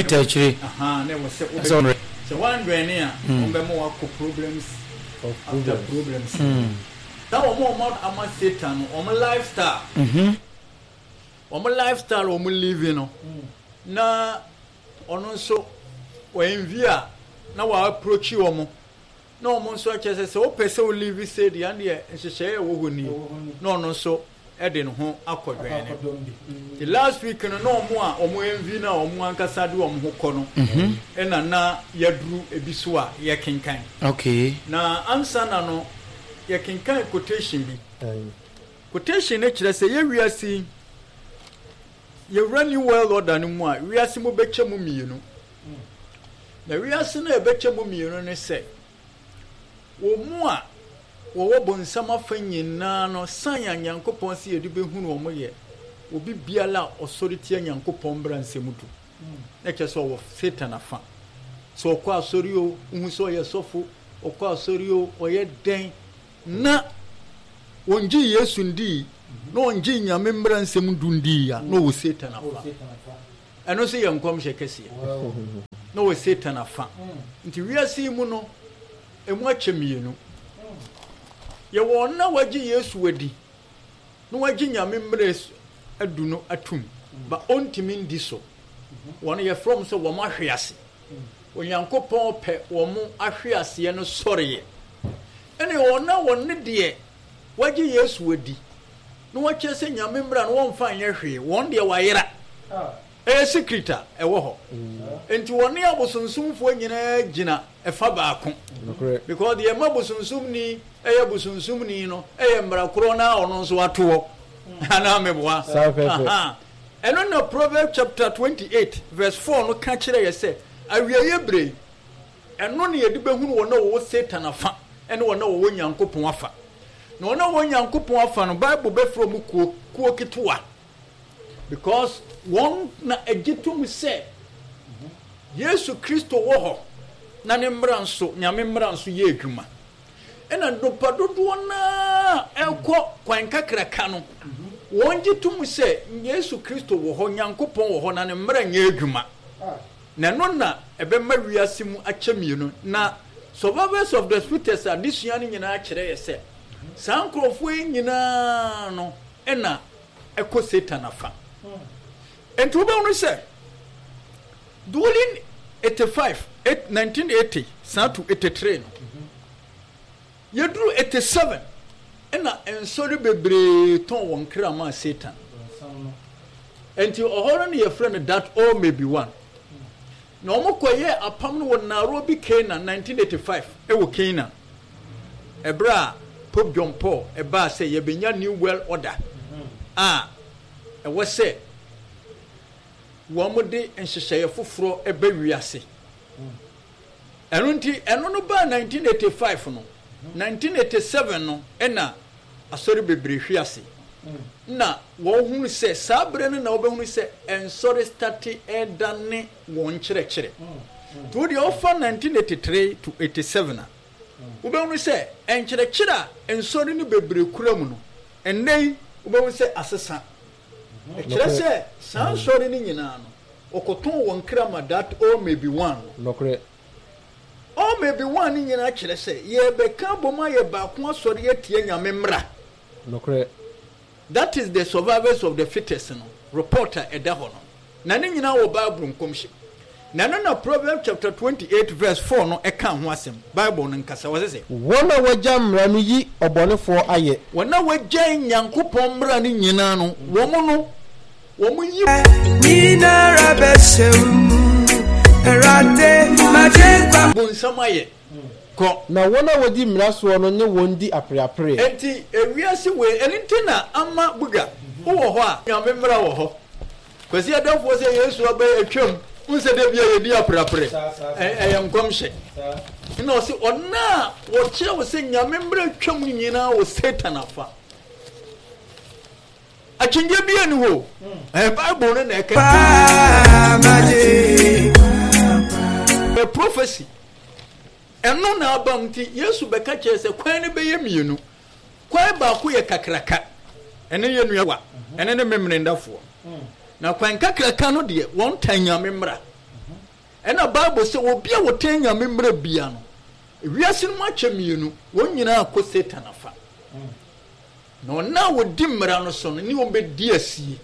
Obi ta akyire. Ahaa, na ɛwɔ sɛ Sɛ wobɛ sɛ woandwɛne a, wɔbɛma woakɔ problems after problems. Na wɔn a wɔn ama Satan no, wɔn lifestyle, wɔn lifestyle a wɔn live no, na ɔno nso wɔ envy a na wɔ approach wɔn. Na wɔn nso kyerɛ sɛ, sɛ wopɛ sɛ wo live sei deɛ, ɛndeɛ nhyehyɛeɛ a ɛwɔ hɔ nie, na ɔno nso de ne ho akɔ dwɛne. Nti last week no, na wɔn a wɔn envy no a wɔn ankasa de wɔn ho kɔ no, ɛna na yɛaduru ebi so a yɛkenkan. Okay. Na ansa na no, yɛkenkan quotation bi. Quotation no kyerɛ sɛ yɛ wiase yi, yɛwura New World Order no mu a, wiase mu bɛkyɛ mu mmienu. Na wiase no a ɛbɛkyɛ mu mmienu ne sɛ, wɔn mu a wɔwɔ bonsam afa nyinaa no, san a Nyankopɔn sɛ yɛde bɛhunu wɔn yɛ obi biara a ɔsɔre tia Nyankopɔn mmara nsɛm du. Na kyerɛ sɛ ɔwɔ Satan afa. Sɛ ɔkɔ asɔre o, wohu sɛ ɔyɛ sɔfo, ɔkɔ asɔre o, ɔyɛ dɛn, na ɔngyee Yesu ndii, na ɔngyee Nyame mmara nsɛm du ndii a, na ɔwɔ Satan afa. Ɛno nso yɛ nkɔmhyɛ kɛseɛ. Na ɔwɔ Satan afa. Nti wiase yi mu no, ɛmu akyɛ mmienu. Yɛwɔ ɔno a wagye Yesu adi na wagye Nyame mmara adu no atum, ba ɔntumi ndi so. Wɔn yɛfrɛ wɔn sɛ wɔn ahwe ase. Onyankopɔn pɛ wɔn ahwe aseɛ no sɔreɛ. Ɛne wɔn a wɔn ne deɛ wagye Yesu adi na wɔkyerɛ sɛ Nyame mmara no wɔmfa nyɛ hwee, wɔn deɛ wɔayera. Ɛyɛ secret a ɛwɔ hɔ. Enti wɔne abosonsomfoɔ nyinaa gyina ɛfa baako. Because deɛ ɛma bosonsomni yɛ bosonsomni no yɛ mmara korɔ no ara a ɔno nso ato hɔ. Anaa meboa? Aha. Ɛno na Proverbs chapter 28 verse 4 no ka kyerɛ yɛ sɛ awieeɛ berɛ yi, Ɛno na yɛde bɛhunu wɔn a wɔwɔ Satan afa ne wɔn a wɔwɔ Nyankopɔn afa. Na wɔn a wɔwɔ Nyankopɔn afa no, Bible bɛfrɛ wɔn kuo, kuo ketewa. Because wɔn na ɛgye tom sɛ Yesu Kristo wɔ hɔ na ne mmara nso, Nyame mmara nso yɛ adwuma. Ɛna nnipa dodoɔ no ara ɛkɔ kwan kakraka no, wɔn gye tom sɛ Yesu Kristo wɔ hɔ, Nyankopɔn wɔ hɔ na ne mmara nyɛ adwuma. Na ɛno na ɛbɛma wiase mu akyɛ mmienu. Na Survivors of the Fittest adesua no nyinaa kyerɛ yɛ sɛ saa nkurɔfoɔ yi nyinaa no na ɛkɔ Satan afa. Enti wobɛhunu sɛ during 85, 1980 saa to 83 no, Yɛduru 87 na nsɔre bebree tɔn wɔn kra maa Satan. Enti ɔhɔ no na yɛfrɛ no that all may be one. Na wɔn kɔyɛɛ apam no wɔ Nairobi, Kenya, 1985 wɔ Kenya. Ɛberɛ a Pope John Paul ɛbaa sɛ yɛbɛnya New World Order a ɛwɔ sɛ wɔn de nhyehyɛeɛ foforɔ ba wiase. Ɛno nti, ɛno no baa 1985 no, 1987 no na asɔre bebree hwe ase. Na wɔhunu sɛ saa berɛ no na wɔbɛhunu sɛ nsɔre state redane wɔn nkyerɛkyerɛ. Nti wo deɛ wofa 1983 to 87 a, wobɛhunu sɛ nkyerɛkyerɛ a nsɔre no bebree kura mu no, ɛnnɛ yi wobɛhunu sɛ asesa. Ɛkyerɛ sɛ saa nsɔre no nyinaa no, wɔkɔtɔn wɔn kra ma that all may be one no. Nokorɛ. All may be one no nyinaa kyerɛ sɛ yɛrebɛka abom ayɛ baako asɔre atia Nyame mmara. Nokorɛ. That is the survivors of the fittest no report a ɛda hɔ no. Na ne nyinaa wɔ Bible nkɔmhyɛ mu. Na ɛno na Proverbs chapter 28 verse 4 no ka ho asɛm. Bible no nkasa, ɔse sɛ. Wɔn a wɔagya mmara no yi ɔbɔnefoɔ ayɛ. Wɔn a wɔagyae Nyankopɔn mmara no nyinaa no, wɔn no, wɔn yi. Nyinara bɛhyɛ wo mu, Awurade, m'Agyenkwa. Bonsam ayɛ. Kɔ. Na wɔn a wɔdi mmara soɔ no ne wɔn di apereapereɛ. Enti ewiase wei, ɛno nti na ama Buga, wowɔ hɔ a. Nyame mmara wɔ hɔ. Kwasi Adamfoɔ sɛ Yesu aba yi atwam, wohu sɛ da bia yɛdi apreapre, ɛyɛ nkɔmhyɛ. Ɛna ɔse ɔno a wɔkyerɛ wo sɛ Nyame mmara atwam nyinaa wɔ Satan afa. Akyinnye bia ni hɔ, ɛyɛ Bible no na ɛka. Ɛyɛ prophecy. Ɛno na aba mu nti Yesu bɛka kyerɛ sɛ kwan no bɛyɛ mmienu. Kwan baako yɛ kakraka, ɛno yɛ nua wa, ɛno ne Memenendafoɔ. Na kwan kakraka no deɛ, wɔn tan Nyame mmara. Ɛna Bible sɛ obi a ɔtan Nyame mmara bia no, wiase no mu akyɛ mienu, wɔn nyinaa kɔ Satan afa. Na wɔn a wɔdi mmara no so no ne wɔn bɛdi asie.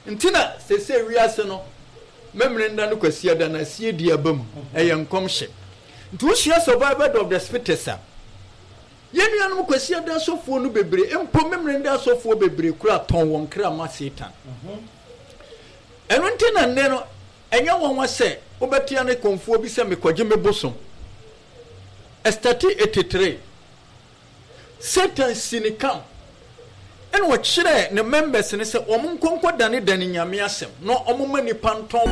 Nti na seesei wiase no Memeneda ne Kwasiada no asie di aba mu. Ɛyɛ nkɔmhyɛ. Nti wosua Survival of the Spitters a, yɛn nuanom Kwasiada asɔfoɔ no bebree, mpo Memeneda asɔfoɔ bebree koraa tɔn wɔn kra ma Satan. Ɛno nti na nnɛ no, ɛnyɛ nwanwa sɛ wobɛtea ne kɔmfoɔ bi sɛ mekɔgye me bosom. Ɛstate 83. Satan si ne camp ɛna ɔkyerɛɛ ne members no sɛ wɔn nkɔ nkɔ dane dane Nyame asɛm na wɔn ma nipa ntɔn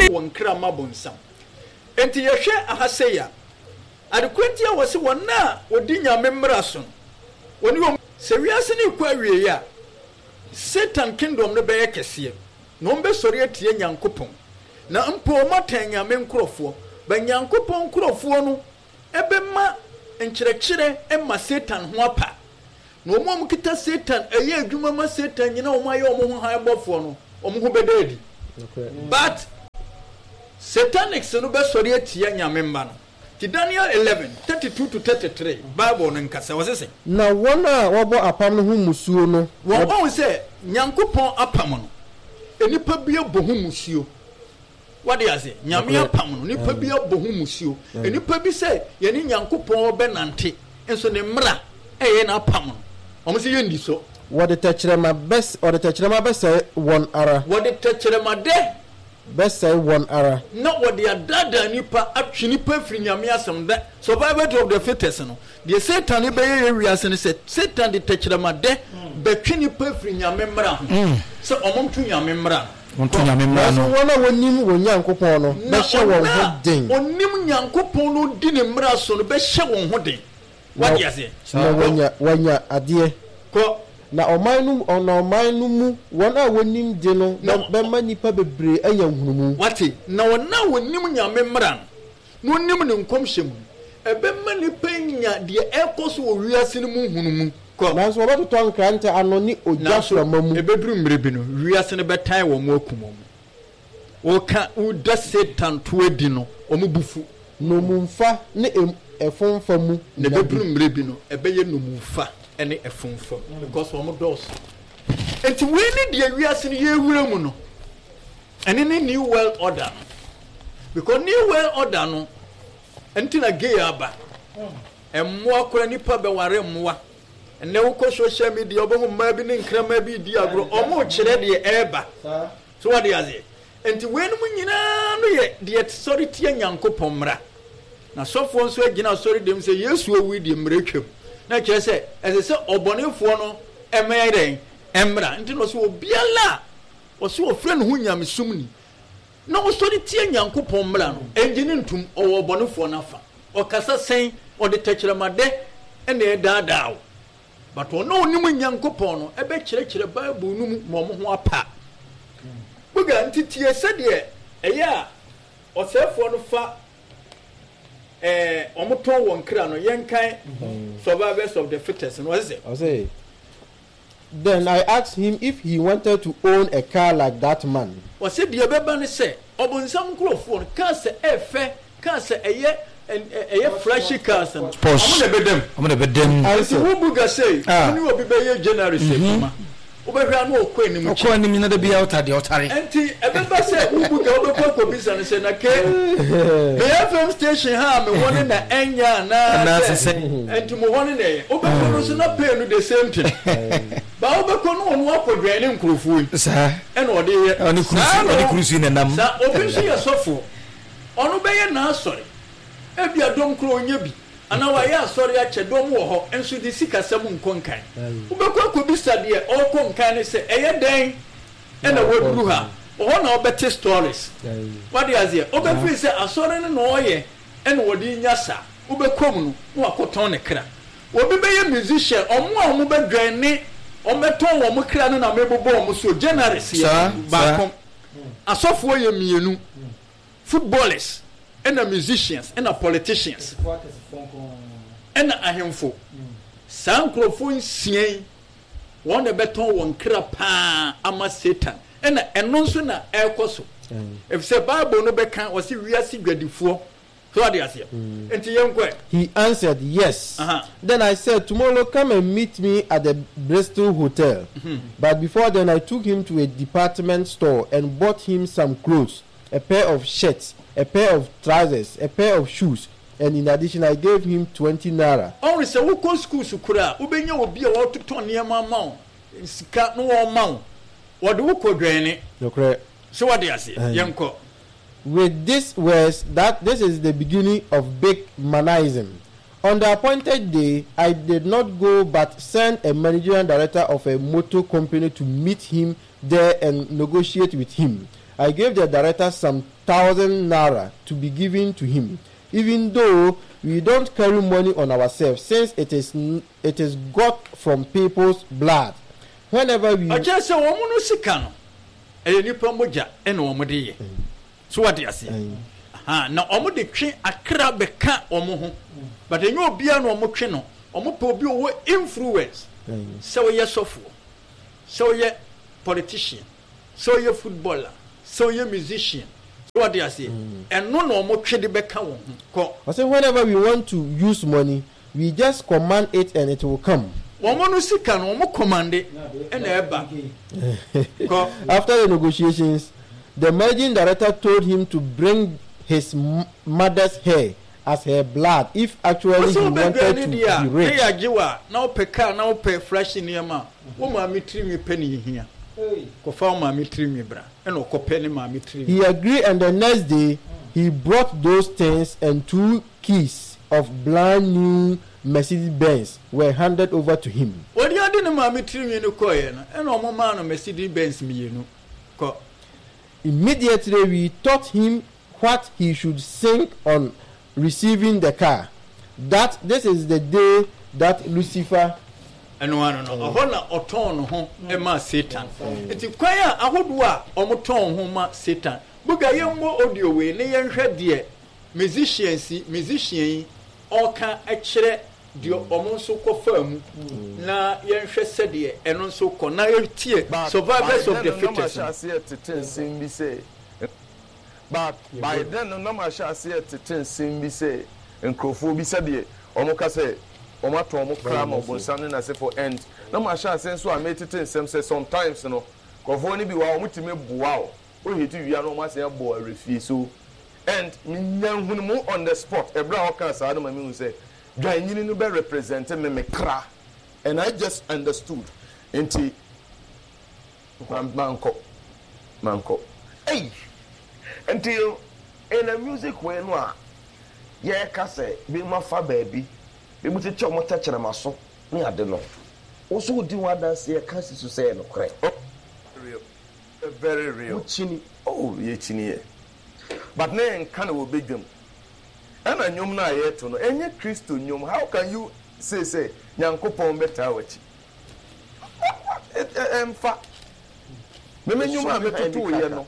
wɔn kra ma bonsam. Enti yɛhwɛ aha sei a, adekora nti a wɔse wɔn a wɔdi Nyame mmara so no, wɔne wɔn. Sɛ wiase no rekɔ awieɛ a, Satan kingdom no bɛyɛ kɛseɛ, na wɔn bɛsɔre atia Nyankopɔn, na mpo wɔn atan Nyame nkorɔfoɔ, but Nyankopɔn nkorɔfoɔ no bɛma nkyerɛkyerɛ ma Satan ho apa, na wɔn a wɔkita Satan, ɛyɛ adwuma ma Satan nyina wɔn ayɛ wɔn ho hann bɔfoɔ no, wɔn ho bɛda adi. But Satanics no bɛsɔre atia Nyame mma no. Nti Daniel 11, 32 to 33, Bible no nkasa, ɔse sɛn? Na wɔn a wɔbɔ apam no ho mmusuo no, Wɔn, wɔhu sɛ Nyankopɔn apam no, nnipa bi abɔ ho mmusuo. Wate ase? Nyame apam no, nipa bi abɔ ho musuo. Nipa bi sɛ yɛne Nyankopɔn bɛnante, nso ne mmara ɛyɛ n'apam no, wɔn sɛ yɛndi so. Wɔde tɛkyerɛma bɛs, wɔde tɛkyerɛma bɛsɛe wɔn ara. Wɔde tɛkyerɛma dɛ. Bɛsɛe wɔn ara. Na wɔde adaadaa nipa, atwe nipa afiri Nyame asɛm. The survival of the fittest no, deɛ Satan bɛyɛ yɛ wiase no sɛ, Satan de tɛkyerɛma dɛ bɛtwe nipa afiri Nyame mmara ho, sɛ wɔn nto Nyame mmara no. Wɔnto Nyame mmara Nanso no. wɔn a wɔnim wɔn Nyankopɔn no Na bɛhyɛ wɔn wɔn ho a den. wɔnim Nyankopɔn no di ne mmara so no bɛhyɛ wɔn ho den. Na, Wate aseɛ? na Kɔ. wɔanya, wɔanya adeɛ. Kɔ. Na ɔman no, na ɔman no mu wɔn a wɔnim de no Na, bɛ, bɛma nnipa bebree anya nhunumu. Wate? Na wɔn a wɔnim Nyame mmara no, na wɔnim ne nkɔmhyɛ mu no, ɛbɛma nnipa anya deɛ ɛrekɔ so wɔ wiase no mu nhunumu. Kɔ. Nanso wɔbɛtotɔ nkrantɛ ano ne ogya Nanso frama mu. ɛbɛduru mmerɛ bi no, wiase no bɛtan wɔn akum wɔn. Woka, woda Satan to adi no, wɔn bo fu. Nnommumfa ne em, ɛfomfa mu Na nna bi. ɛbɛduru mmerɛ bi no, ɛbɛyɛ nnommumfa ne ɛfomfa mu, because wɔn dɔɔso. Enti wei ne deɛ wiase no yɛrewura mu no. Ɛne ne New World Order no. Because New World Order no, ɛnti na gay aba. Mmoa koraa, nnipa bɛware mmoa. Ɛnnɛ wokɔ social media wobɛhu mmaa bi ne nkraman bi redi agorɔ, wɔrekyerɛ deɛ ɛreba. So wate aseɛ? Nti weinom nyinaa no yɛ deɛ sɔre tia Nyankopɔn mmara. Na sɔfoɔ nso agyina asɔre dɛm sɛ Yesu owui deɛ mmara twam. Na kyerɛ sɛ ɛsɛ sɛ ɔbɔnefoɔ no mmɛyɛ dɛn? Mmra. Nti na ɔsɛ obiara a ɔsɛ ɔfrɛ ne ho nyamesomni na ɔsɔre tia Nyankopɔn mmara no, ɛngye no ntom, ɔwɔ ɔbɔnefoɔ no afa. Ɔkasa sɛn? Ɔde tɛkyerɛmadɛ na ɛredaadaa wo. But wɔn a wɔnim Nyankopɔn no bɛkyerɛkyerɛ Bible no mu ma wɔn ho apa. Buga, nti tie sɛdeɛ ɛyɛ a ɔsɛefoɔ no fa ɛɛ wɔn tɔn wɔn kra no. Yɛnkan Survivors of the Fittest no, ɔse sɛ. Ɔse, Then I asked him if he wanted to own a car like that man. Ɔse deɛ ɛbɛba ne sɛ ɔbonsam nkorɔfoɔ no cars a ɛfɛ, cars a ɛyɛ ɛyɛ flashy cars no, ɔmo na ɛbɛda mu. Ɔmo na ɛbɛda mu. Nti wo buga sei, wo ne obi bɛyɛ journalist adwuma, wobɛhwɛ a na ɔkɔ anim Ɔkɔ kyɛ. anim na da biara ɔtare deɛ ɔtare. Nti ɛbɛba sɛ wo buga wobɛkɔ akɔbisa no sɛ na ke me FM station ha a mewɔ no na ɛnyɛ Anaasɛ anaasɛ sɛn? nti mo hɔ no na ɛyɛ. Wobɛkɔ no nso na pay no the same thing. Ba wobɛkɔ no ɔno akɔdwɛn ne nkurɔfoɔ yi Saa. ɛna ɔde yɛ. Ɔne kurusu Saa na ɔne ɔ kurusu na ɛnam. saa obi nso yɛ sɔfoɔ ɔno bɛyɛ n'asɔre ebia dɔm koraa ɔnyɛ bi anaa wayɛ asɔre akyɛ dɔm wɔ hɔ nso de sikasɛm nkɔ nkan. Wobɛkɔ akɔbisa deɛ ɔrekɔ nkan no sɛ ɛyɛ dɛn na waduru ha? Ɔhɔ na wobɛte stories. Wate aseɛ? Wobɛfiri sɛ asɔre no na ɔreyɛ na ɔde renya saa. Wobɛkɔ mu no na wakɔtɔn ne kra. Obi bɛyɛ musician, wɔn a wɔbɛdwɛn ne wɔbɛtɔn wɔn kra no na mebobɔ wɔn so. Journalist yɛ baako, asɔfoɔ yɛ mmienu, footballers ɛna musicians ɛna politicians ɛna ahemfo. Saa nkurɔfoɔ nsia yi, wɔn na ɛbɛtɔn wɔn kra paa ama Satan. Ɛna ɛno nso na ɛrekɔ so. Efisɛ Bible no bɛka, ɔse wiase dwadifoɔ. So wate aseɛ? Nti yɛnkɔ ɛ. He answered, Yes. Aha. Then I said, Tomorrow come and meet me at the Bristol Hotel. But before then I took him to a department store and bought him some clothes, a pair of shirts, a pair of trousers, a pair of shoes, and in addition I gave him 20 naira. Ɔhunu sɛ wokɔ schools koraa a, wobɛnya obi a ɔretotɔ nneɛma ama wo, sika na ɔrema wo. Wɔde wo kɔ dwɛne. Nokorɛ. So wate aseɛ? Aye. Yɛnkɔ. With this words that this is the beginning of big manism. On the appointed day, I did not go but sent a managerial director of a motor company to meet him there and negotiate with him. I gave the director some thousand naira to be given to him, even though we don't carry money on ourselves since it is it is got from people's blood. Whenever we Ɔkyerɛ sɛ wɔn no sika no, ɛyɛ nipa mogya na wɔn de yɛ. So wate aseɛ? Aha, na wɔn de twe akra bɛka wɔn ho. But ɛnyɛ obiara na wɔn twe no. Wɔn pɛ obi ɔwɔ influence. Sɛ ɔyɛ sɔfoɔ, sɛ ɔyɛ politician, sɛ ɔyɛ footballer, sɛ ɔyɛ musician. So wate aseɛ? Ɛno na wɔn twe de bɛka wɔn ho. Kɔ. Ɔse whenever we want to use money, we just command it and it will come. Wɔn no sika no wɔn commande ɛna ɛba. Kɔ. After the negotiations, the managing director told him to bring his mother's hair as her blood if actually Wosɛ he wanted wobɛdua ne to deɛ a be na rich. yɛagye wo a na wopɛ car na wopɛ flashy nneɛma a, wo maame tirinwi pɛ ne yɛhia. Kɔfa wo maame tirinwi bra. Ɛna ɔkɔpɛ ne maame tirinwi. He agreed and the next day he brought those things and two keys of brand new Mercedes Benz were handed over to him. Wɔde ade ne maame tirinwi no kɔeɛ no, ɛna wɔmaa no Mercedes Benz mmienu. Kɔ. Immediately we taught him what he should sing on receiving the car, that this is the day that Lucifer. Ɛno ano no, ɛhɔ na ɔtɔn ne ho maa Satan. Nti kwan a ahodoɔ a wɔtɔn ho ma Satan. Buga yɛmmɔ audio wei ne yɛnhwɛ deɛ musicians yi, musician yi ɔreka kyerɛ deɛ wɔn nso kɔfaa mu na yɛnhwɛ sɛdeɛ ɛno nso kɔ na yɛtie But by Survivors of then the no na Fittest mahyɛ no. aseɛ tete nsɛm bi sɛ But by then no na mahyɛ aseɛ tete nsɛm bi sɛ nkurɔfoɔ bi sɛdeɛ wɔka sɛ wɔatɔn wɔn kra ama ɔbonsam ne n'asefoɔ and na mahyɛ aseɛ nso a metete nsɛm sɛ sometimes no nkurɔfoɔ no bi wɔ hɔ a wɔtumi boa wo wo hate wie a na wɔn asan abɔ wo awerɛfie so and menya nhunumu on the spot ɛberɛ a ɔkaa saa no ma mehu sɛ dwannyini no bɛ represent me me kra and I just understood nti Mankɔ, mankɔ. Ei! Nti in a music way no a yɛreka sɛ binom afa baabi, binom kyekyɛ wɔn tɛkyerɛma so ne ade no, wo nso wodi ho adanseɛ ka si so sɛ ɛyɛ nokorɛ? Oh real, very real. Wokyini? Oh yɛkyiniiɛ but na yɛnka no wɔ badwam. Ɛna nnwom no a yɛreto no ɛnyɛ Kristo nnwom, how can you say sɛ Nyankopɔn bɛtaa w'akyi? Ɛmfa. Me me nnwom a metotoeɛ no,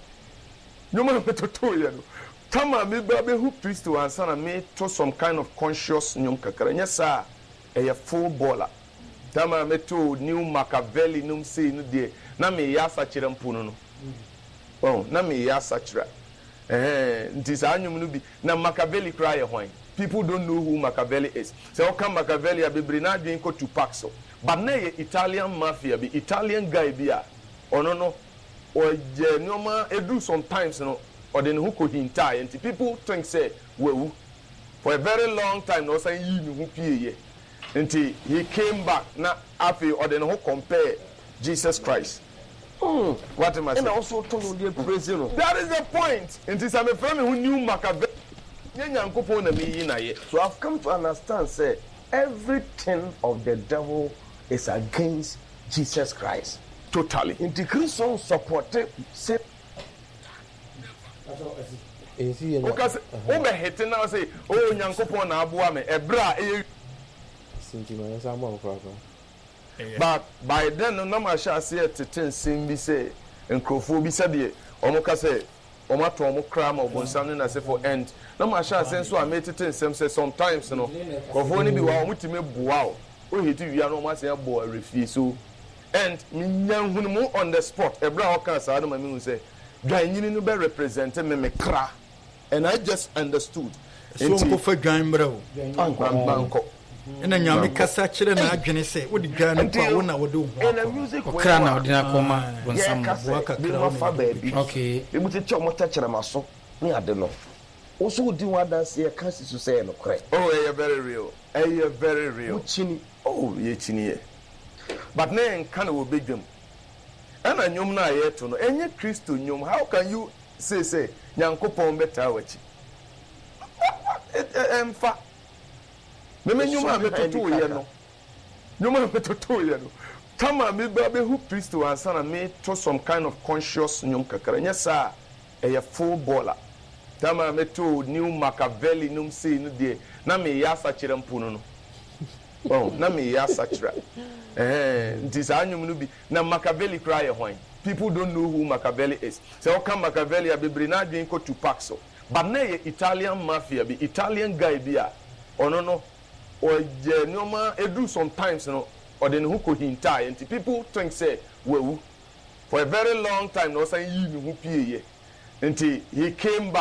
nnwom a metotoeɛ no, tam a meba bɛhu Kristo ansa na meto some kind of conscious nnwom kakra, nyɛ saa a, ɛyɛ full baller. Tam a metoo New Machiavelli nom sei no deɛ, na meyɛ asakyera mpo no no. Wahu? Na meyɛ asakyera. Ɛhɛn, nti saa nnwom no bi, na Machiavelli koraa yɛ hwan? People don't know who Machiavelli is. Sɛ woka Machiavelli a, bebree no adwene kɔ Tupac so. But na ɛyɛ Italian mafia bi, Italian guy bi a ɔno no, ɔyɛ nneɛma, ɛduru sometimes no, ɔde ne ho kɔhintaaeɛ nti people think sɛ wawu. For a very long time na ɔsan yii ne ho pieeɛ. Nti he came back na afei ɔde ne ho compare Jesus Christ. Wate mase? Ɛna wo nso woto nnwom de praise no. That is the point! Nti sɛ mefrɛ me ho New Machiavelli, nyɛ Nyankopɔn na meyi no ayɛ. So I've come to understand sɛ everything of the devil is against Jesus Christ. Totally. Nti Kristo nsupporte sɛ. Woka sɛ wobɛ hete na wose oh Nyankopɔn na aboa me ɛberɛ a ɛyɛ. But by then no na mahyɛ aseɛ tete nsɛm bi sɛ nkurɔfoɔ bi sɛdeɛ wɔka sɛ wɔatɔn wɔn kra ama ɔbonsam ne n'asefoɔ and na mahyɛ aseɛ nso a metete nsɛm sɛ sometimes no nkurɔfoɔ no bi wɔ hɔ a wɔtumi boa wo, wo hate wie a na wɔasan abɔ wo awerɛfie so. And me nya nhunumu on the spot ɛberɛ a ɔkaa saa no ma me hu sɛ dwan nyini no bɛ represent me me kra and I just understood. So Nti ɔnkɔfa dwan mmerɛ o. mankɔ. Ɛna Nyame kasa kyerɛ n'adwene sɛ wode dwan no kɔ a wo na wode wo ho In a akɔ. music way Ɔkra no na a ɔde no akɔma bonsam yɛka no. Aboa sɛ kakra binom wo na afa wode baabi, wobɛtwa. Okay. binom kyekyɛ wɔn tɛkyerɛma so ne ade no, wo nso wodi ho adanseɛ ka si so sɛ ɛyɛ nokorɛ. Oh ɛyɛ very real ɛyɛ very real. Wokyini. Oh yɛkyiniiɛ but na yɛnka no wɔ badwam ɛna nnwom no a yɛto no ɛnyɛ Kristo nnwom how can you say sɛ Nyankopɔn bɛtaa w'akyi ɛmfa me me nnwom a metotoeɛ no nnwom a metotoeɛ no tam a meba bɛhu Kristo ansa na meto some kind of conscious nnwom kakra nyɛ saa a ɛyɛ full baller tam a metoo new Machiavelli nom sei no deɛ na meyɛ asakyera mpo no no Wahu? Na meyɛ asakyera. Ɛhɛn, nti saa nnwom no bi, na Machiavelli koraa yɛ hwan? People don't know who Machiavelli is. Sɛ woka Machiavelli a, bebree no adwene kɔ Tupac so. But na ɛyɛ Italian mafia bi, Italian guy bi a ɔno no, ɔyɛ nneɛma, ɛduru sometimes no, ɔde ne ho kɔhintaaeɛ. Nti people think sɛ wawu. For a very long time na ɔsan yii ne ho pieeɛ. Nti he came back.